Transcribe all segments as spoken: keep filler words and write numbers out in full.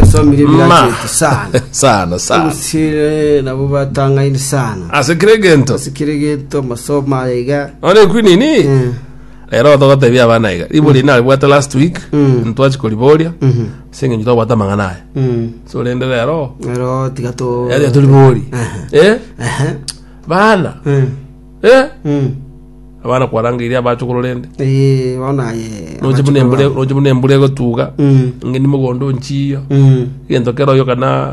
Osomire Ma. ebiracheti sana. Sana sana. Ogusire nabo batang'aini sana. Ase kire gento. Ase kire gento amasomo aya iga. One kwinini. Eh. Rero togotebia abana iga. Ribori naribwate last week. Mm. Ntwachi koriboria. Mhm. Ase eng'encho twabwate amang'ana aya. Mm. So rende rero. Rero tiga to Yaani turibori. Aha. Eh? Aha. Bana. Mm. Eh? Mm. Abana kwarangeirie abachokoro rende. Eh, bono aye. Noche buna embura noche buna embura egotuga. Mm. Ng'eni mogondo nchiyo. Mm. Egento kero oyo kana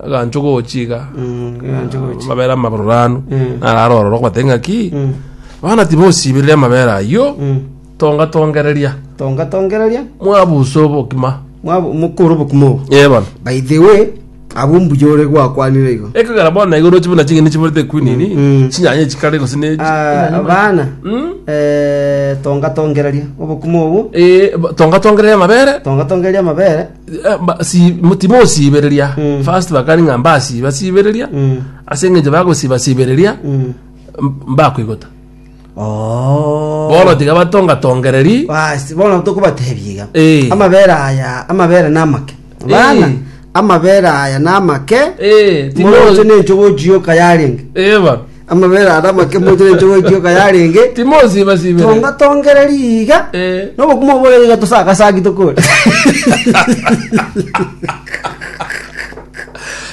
gancho gochiga. Mm. Gancho gochi. Amabere amabororanu. Mm. Nararo ororo kwate ng'aki. Mm. Bana tibosibereria amabere ayio. Mm. Tonga tongereria. Tonga tongereria. Mwabusa obokima. Mwabo mukuru bokumo. Eh bono. By the way, abo mbuyore gwakwanire igo. Ekogera bono igo roche buna ching'eni chiborete kwinini. Mm. Chinyanya chikare gose ne Ah, bana. Mm. Eh, tonga tongereria obokumo obo. Eh ba- tonga tongereria amabere. Tonga tongereria amabere. Eh, ba- si timosibereria. Mm. First bakari ng'a mbasiba sibereria. Mm. Ase eng'encho bagosiba sibereria Mm. mbakoigota. Oh. Bono tiga batonga tongereri. Basi bono tokobatebia iga. Eh. Amabere aya, amabere namake. Bana, Eh. amabere aya namake. Eh, timo Moroche nenchogo chioka yarenge. Eh ba. Amabere aya namake moroche nenchogo chioka yarenge. Timosiba sibereria. Tonga tongereria iga. Eh. Nobokuma bore iga tosakasaki tokore.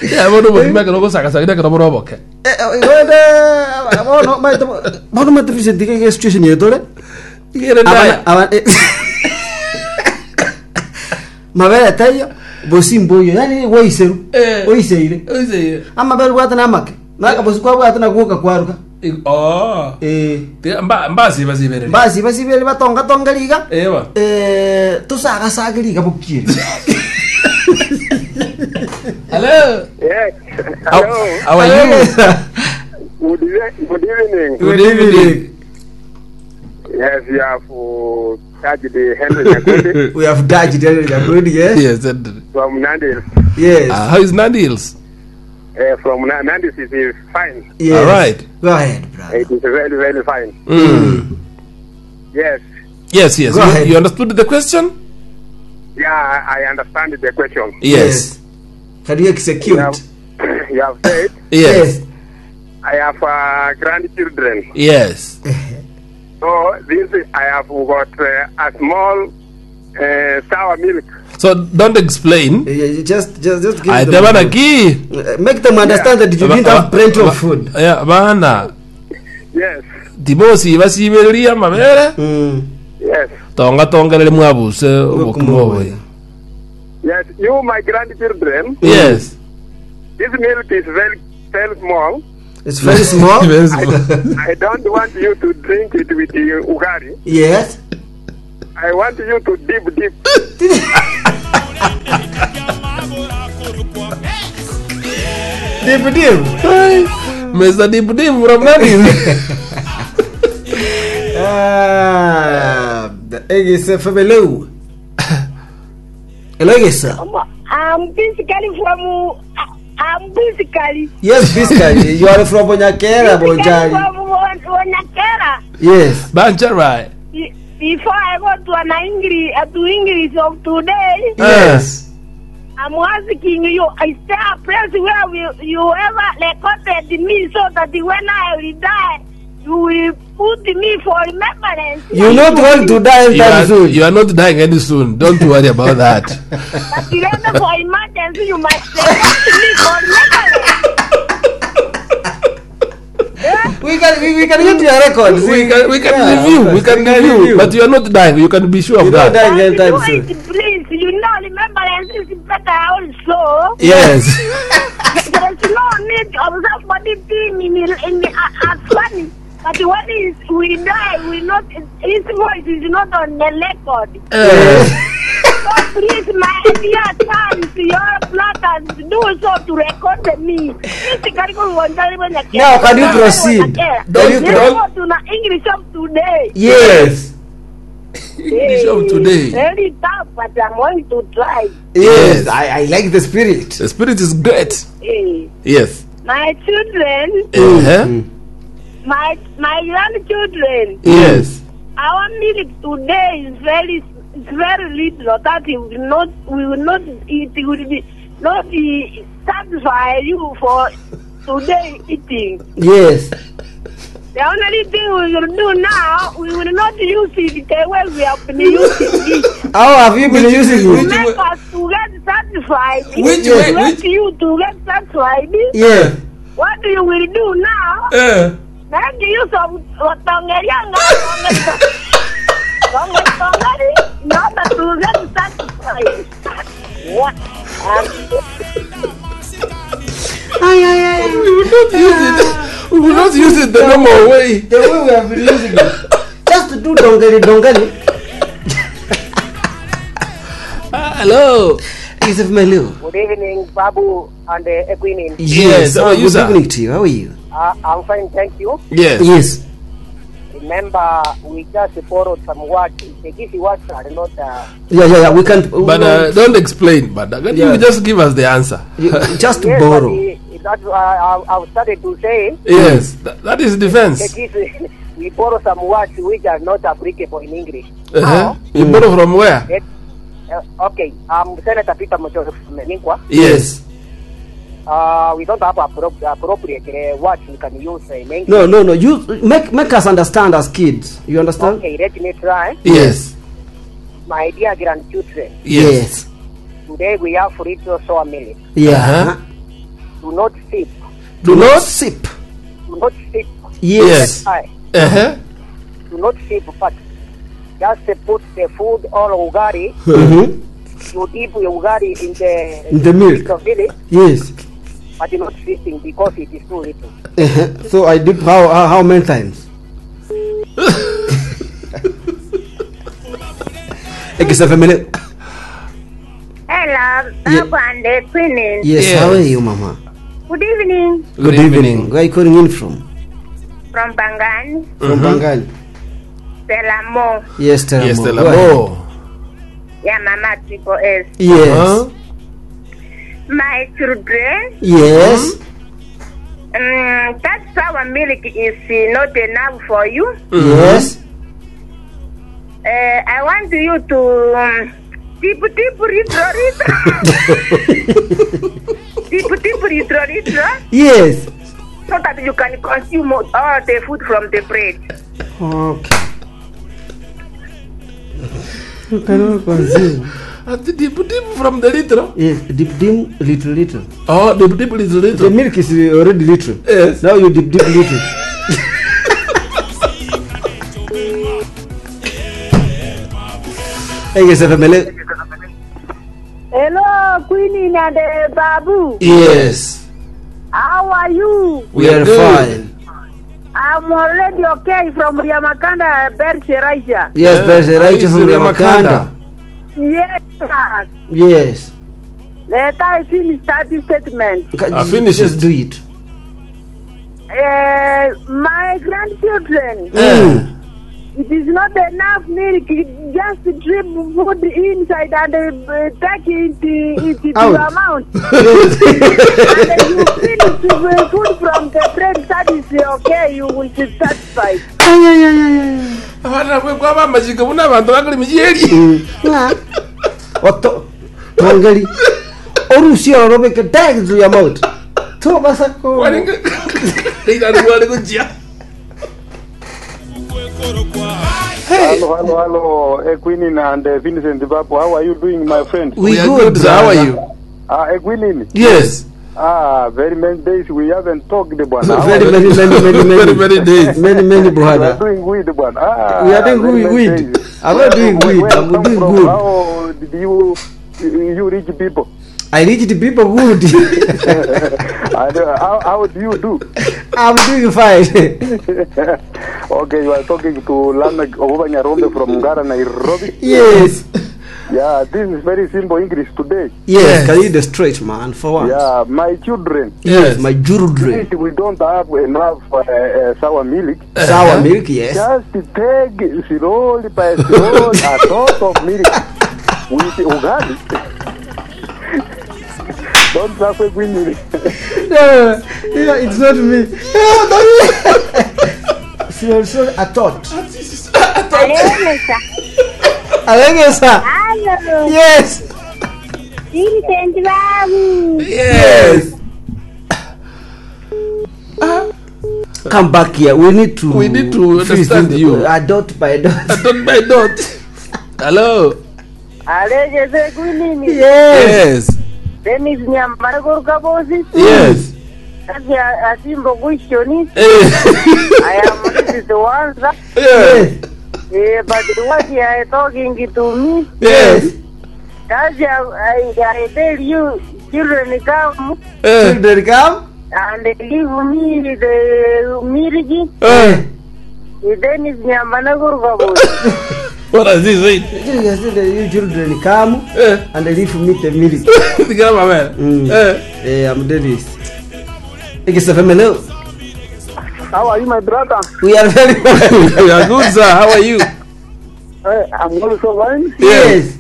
Ya bono bokima ekero ogosagasagira ekero bore oboke. Eh, eh, wende bono maete bono maete Vincent iga situation yetore. Igere ndaya. Abana- aba- eh. Mabere taiyo bosimbo yo yani waiseru Eh. oiseire Oiseire. amabere bwate namake nakabosi kwabwate naguoka kwaruka Oh. eh Tiga mba mbasiba sibereria. basi basibere batonga tonga riga Eh ba. eh tosagasaga riga bokire Hello. Yes. How, Hello. how are you? Good, eve- good evening. Good evening. Yes, you have uh, touched the Henry Nyakundi we have dodged it yes Yes. and- from Nandil. yes Uh, how is Nandi Hills? Uh, from Na- Nandis is is fine. yes All right. go ahead brother It is very, very fine. Mm. Yes. Yes, yes. Go You, ahead. you understood the question? Yeah, I I understand the question. Yes. can you execute You have, you have said Yes. I have uh, grandchildren. Yes. So this I have got uh, a small uh, sour milk. So don't explain. Yeah, just just just give I them bana ki. Uh, make them understand that you didn't have plenty of food Yeah, bana. Yes. Tibosiba sibereria amabere. mm. Yes. Tonga tongerere mwabuse obokima oboye. Yes. You, my grandchildren, Yes. this milk is very, very small. it's very small Very small. I don't want you to drink it with the ugari. yes I want you to dip, dip. deep deep Hey, Mr. Deep Deep from Nandi Hills. Ah, egese febeleu hello egesa I'm physically from. I'm physically. yes physically you are from Bonyakera Physically Bonjari from Bon- Bonyakera. yes Bancharai. Be- Before I go to an English, uh, to English of today, yes I'm asking you, is there a place where we, you ever recorded me so that when I will die, you will put me for remembrance? you're not going to die You anytime are, soon you are not dying any soon. Don't worry about that. But then for emergency, you must record me for remembrance. we can we, we can get your records we can we can Yeah, review. of We course. can review. But you are not dying. You can be sure of You're not that. dying anytime Do soon it, please. You know, remembrance is better also. Yes. There is no need of somebody being in, in, in uh, as funny. But when is, we die, we not his voice is not on the record. Eh, So please, my dear sons, your brothers, do so to record me. Now, can you proceed? Can you Let's go to the English of today. yes English of today. Very tough, but I'm going to try. yes Yes. I, I like the spirit The spirit is great. Eh. Yes. My children, Uh-huh. my my grandchildren, Yes. our milk today is very it's very little that it will not we will not it will be not uh, satisfy you for today eating. Yes. The only thing we will do now, we will not use it the way we have been using it. How have you been Which- using To it? which- make us to get satisfied. Which to way- make which- you to get satisfied. Yeah. What you will do now, Eh. make use of Watongerianga, Tongeri, in order to get satisfied. What? We will not use it. We will not use it the normal way. The way we have been using it. Just to do dongeli dongeli. Ah, hello. Yusuf Melu. Good evening, Babu and uh, Equinin. Yes, how are uh, you, good sir? evening to you. How are you? Uh, I'm fine, thank you. Yes. Yes. Remember, we just borrowed some words. The Gisi words are not. Uh, Yeah, yeah, yeah. We can't. But uh, don't explain. But uh, Yeah. you just give us the answer. you, just yes, borrow. But the, that's uh, I, I've started to say. Yes, that, that is The defense. Gisi, we borrow some words which are not applicable in English. Uh-huh. Now, You borrow from where? let, uh, okay, I'm Senator Peter Mochoro from Meningwa. Yes. Uh, we don't have appro- appropriate uh, words we can use in English. No, no, no. You make make us understand as kids. You understand? Okay, let me try. Yes. My dear grandchildren, Yes. today we have little sour milk. Yeah. Uh-huh. Do not sip. Do not. sip. Do not sip. Yes. Aye. Uh-huh. Do not sip, but just put the food or ugari. Mm-hmm. You dip your ugari in the In the milk. of milk, Yes. but you're not sipping because it is too little. Uh-huh. So I dip how how, how many times? Ekisafemele. Hello, Yeah. Babu and Equinin. Yes, Yes. How are you, Mama? Good evening Good, evening. Where are you calling in from? from Bangan, From Bangali. Selamo, Yes, Teramo. Yes, Go ahead. Telamo. yeah, Mama Triple S. Yes. Huh? My children, Yes. um, that sour milk is uh, not enough for you. Yes. Uh, I want you to um, tip tip retro retro. Tip tip retro retro Yes. so that you can consume all the food from the plate. Okay. You cannot consume. Uh, the Deep deep from the little. Yes, dip dim little little. Oh, deep deep little The little. milk is already little. Yes. Now you dip dip little. Ekisafemele. Hello, Queenie and uh, Babu. Yes. How are you? We are good. fine. I'm already okay from Riamakanda, Bercheraisha. Yes, Yeah. there's a right Is from Riamakanda. Ramakanda. Yes, sir. Yes. Let I finish that statement. Ca- Ah, finish Just it. do it. Uh, my grandchildren, Eh. it is not enough milk. Just drip food inside and uh, take it, it to Out. your mouth. And you finish the food from the bread, that is okay. You will be satisfied. Ay, ay, ay, ay, ay. Abana kwe kwaba amajika buna abantu bakali mijieri. Oto tongeli. Orusia orobeke take to your mouth. To basako. Waringa. Ila ni wale kujia. Hello, hello, hello, Equinin and uh, Vincent Babu. How are you doing, my friend? We, We are good. good. sir. How are you? Ah, Equinin. Yes. Ah, very many days we haven't talked, bwana. How Very are many many many many Very many days. Many many you? We are brother. doing weed, bwana. Ah, We are doing very many weed. days. I'm not doing Where- weed. where I'm you come doing from? good. How did you you reach people? I reach the people good. And, uh, how, how do you do? I'm doing fine. Okay, you are talking to Lamek Obanyarombe from Ngara, Nairobi. Yes. Yeah, this is very simple English today. Yes. Can you the straight man for once? Yeah, my children. Yes. My children. If we don't have enough uh, uh, sour milk, Sour milk, yes. just take slowly by slowly a tot of milk with ugali. Don't suffer with me. No, yeah, it's not me. No, not me. Seriously, I thought. Hello, Alengesa. Hello. Yes. Vincent Babu. Yes. Come back here. We need to. We need to freeze understand this- you. Uh, dot by dot. Dot by dot. Hello. Alejeze kwinini. Yes. Yes. Dennis Nyambara Gorkabosi. Yes. That's a simple question. Eh. I am this is the answer. Yes. Eh, but what you are talking to me, Yes. that's I, I tell you, children come Eh. Children come. and give me the milk. Eh. Dennis Nyambara Gorkabosi. What does this say? Yes, you children come Eh. and leave me the milk. Tigara mama. Mm. Eh. Eh, I'm Dennis. It's a family. How are you, my brother? We are very well. We are good, sir. How are you? Eh, I'm also fine. Yes.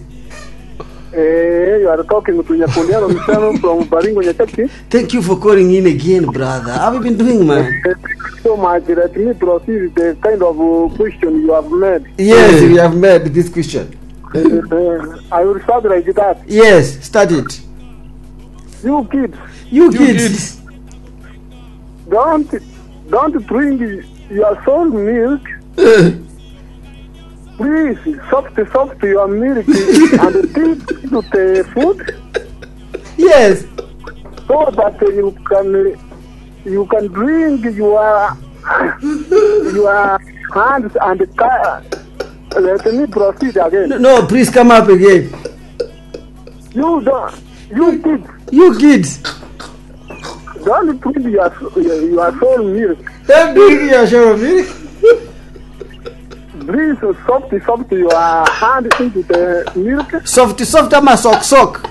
Eh, you are talking to Nyakundiano Mchano from Baringo Nyachaki. Thank you for calling in again, brother. How have you been doing, man? Thank you so much. Let me proceed with the kind of uh, question you have made. Yes, Yeah. we have made this question. Uh, I will start like that. Yes, start it. You kids, You, You kids. kids. don't don't drink your soul milk. Eh. Please, soft soft your milk and dip into the food Yes. so that you can you can drink your your hands and ca- let me proceed again. No, please come up again. You don't you kids You kids. don't drink your your, your soul milk. Don't drink your share of milk. Please soft soft your hand into the milk. Soft, soft ama sock, sock.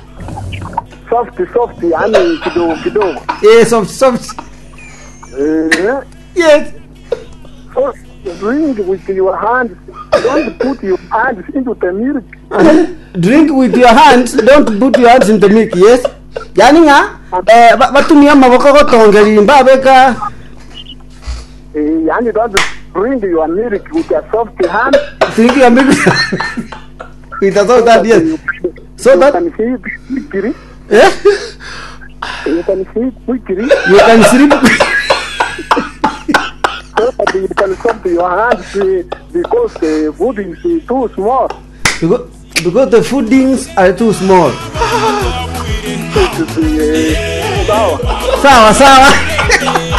Soft soft yani kidogo kidogo. Eh, soft, soft. Eh, Yes. so drink with your hands. Don't put your hands into the milk. Drink with your hands. Don't put your hands in the milk. Yes. Yani nga eh ba- batumia maboko gotongerimba beka Eh, yani don't drink your milk with a soft hand. drink your milk with a soft hand. Yes. So you that can see quickly. eh You can see quickly. you can sleep. So that you can soft your hands eh, because the food is eh, too small. because, because the foodings are too small. Eh, sawa. Sawa sawa.